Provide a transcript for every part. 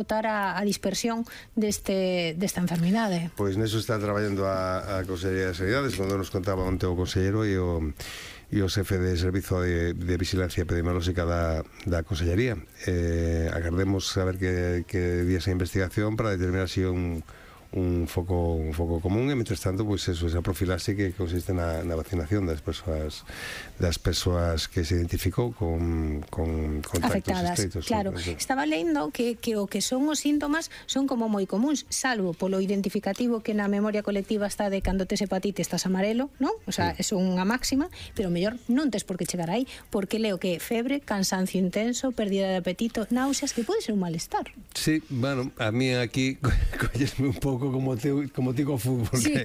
botar a dispersión desta enfermidade. Pois neso está traballando a Consellería de Sanidades, cando nos contaba onte o consellero e o xefe de Servizo de Vigilancia Epidemiolóxica da Consellería. Agardemos saber que días a investigación para determinar se un foco común, e mentres tanto, pois eso, esa profilaxe que consiste na vacinación das persoas que se identificou con contactos estreitos. Claro, estaba lendo que o que son os síntomas son como moi comuns, salvo polo identificativo que na memoria colectiva está de cando tes hepatite estás amarelo, non? O sea, é unha máxima, pero mellor non tes por que chegar aí, porque leo que febre, cansancio intenso, pérdida de apetito, náuseas, que pode ser un malestar. Sí, bueno, a mí aquí collesme un pouco como ti co fútbol, porque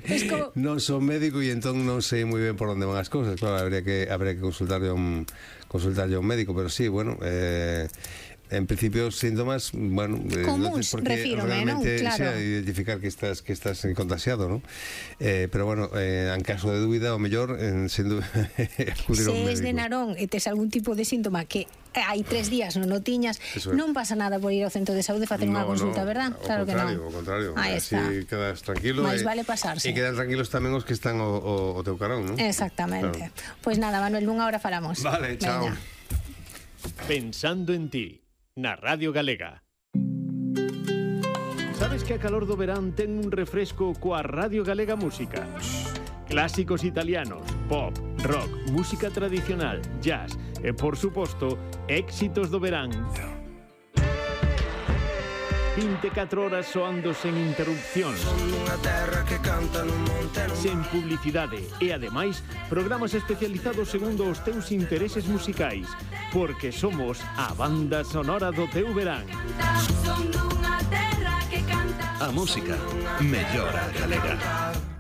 non son médico e entón non sei moi ben por onde van as cousas. Claro, habría que consultarlle a un médico, pero sí, bueno, en principio síntomas, bueno, comuns, refírome, non? Claro. Identificar que estás contagiado, non? Pero bueno, en caso de dúbida, o mellor sendo acudir a un médico. Se es de Narón e tes algún tipo de síntoma que hai 3 días non o tiñas, non pasa nada por ir ao centro de saúde e facer unha consulta, verdad? Claro que non. Ao contrario, así quedas tranquilo. Mais vale pasarse. E quedan tranquilos tamén os que están o teu carón, non? Exactamente. Pois nada, Manuel, nunha hora falamos. Vale, chao. Pensando en ti, na Radio Galega. Sabes que a calor do verán ten un refresco coa Radio Galega Música? Clásicos italianos, pop, rock, música tradicional, jazz e, por suposto, éxitos do verán. 24 horas soando sen interrupcións, sen publicidade e, ademais, programas especializados segundo os teus intereses musicais, porque somos a banda sonora do teu verán. A música mellora a galega.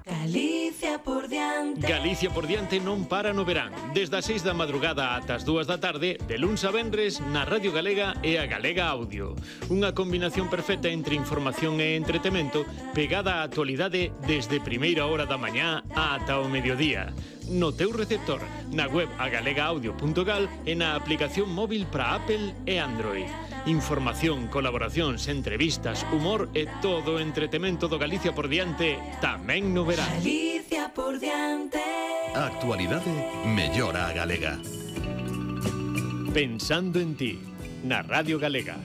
Galicia por diante. Galicia por diante non para no verán. Desde as 6 da madrugada ata as 2 da tarde, de luns a venres, na Radio Galega e a Galega Audio. Unha combinación perfecta entre información e entretemento, pegada á actualidade desde primeira hora da mañá ata o mediodía. No teu receptor, na web agalegaudio.gal e na aplicación móvil para Apple e Android. Información, colaboracións, entrevistas, humor e todo o entretemento do Galicia por diante tamén no verán. Galicia por diante. A actualidade mellora a galega. Pensando en ti, na Radio Galega.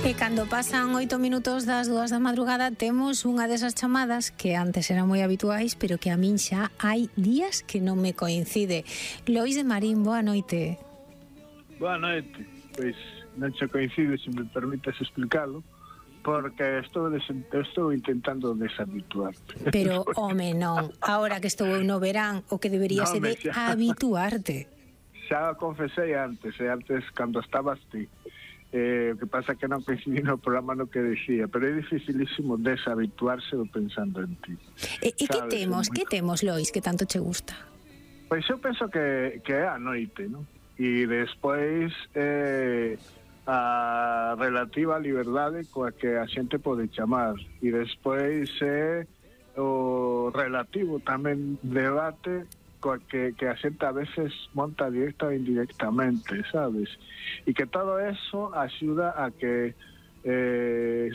E cando pasan 8 minutos das 2 da madrugada temos unha desas chamadas que antes eran moi habituais, pero que a min xa hai días que non me coincide. Lois de Marín, boa noite. Boa noite. Pois non se coincide, se me permites explicarlo, porque estou intentando deshabituarte. Pero, home, non. Ahora que estou no verán, o que debería ser de habituarte. Xa confesei antes cando estabas ti. O que pasa que non coincidí no programa no que decía, pero é dificilísimo deshabituarse do pensando en ti. E que temos, Lois, que tanto che gusta? Pois eu penso que é a noite, non? E despois a relativa liberdade coa que a xente pode chamar, e despois é o relativo tamén debate coa que a xente a veces monta directa ou indirectamente, sabes? E que todo eso axuda a que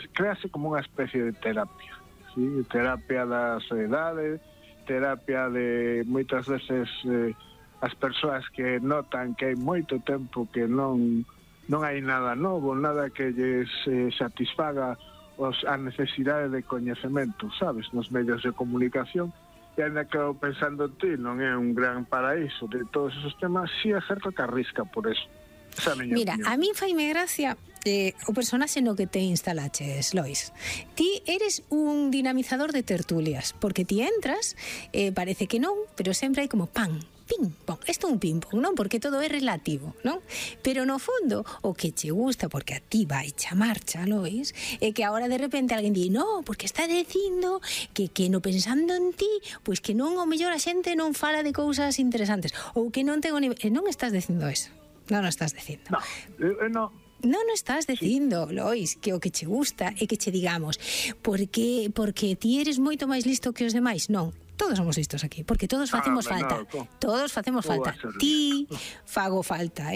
crease como unha especie de terapia, ¿sí? Terapia da soledade, terapia de moitas veces as persoas que notan que hai moito tempo que non hai nada novo, nada que lles satisfaga a necesidade de coñecemento, sabes, nos medios de comunicación. E ainda que pensando en ti non é un gran paraíso de todos esos temas, si é certo que arrisca por eso. Mira, opinión. A mí faime gracia o personaxe no que te instalaches, Lois. Ti eres un dinamizador de tertulias, porque ti entras, parece que non, pero sempre hai como pan, ping-pong, isto é un ping-pong, non? Porque todo é relativo, non? Pero no fondo, o que che gusta, porque a ti vai chamarcha, Lois, é que agora de repente alguén di, no, porque está dicindo que no pensando en ti, pois que non, o mellor a xente non fala de cousas interesantes, ou que non ten o nivel, non estás dicindo eso, non o estás dicindo. No. Non o estás dicindo, Lois, que o que che gusta é que che digamos porque ti eres moito máis listo que os demais, non. Todos somos listos aquí, porque todos facemos falta. Todos facemos falta. Ti fago falta,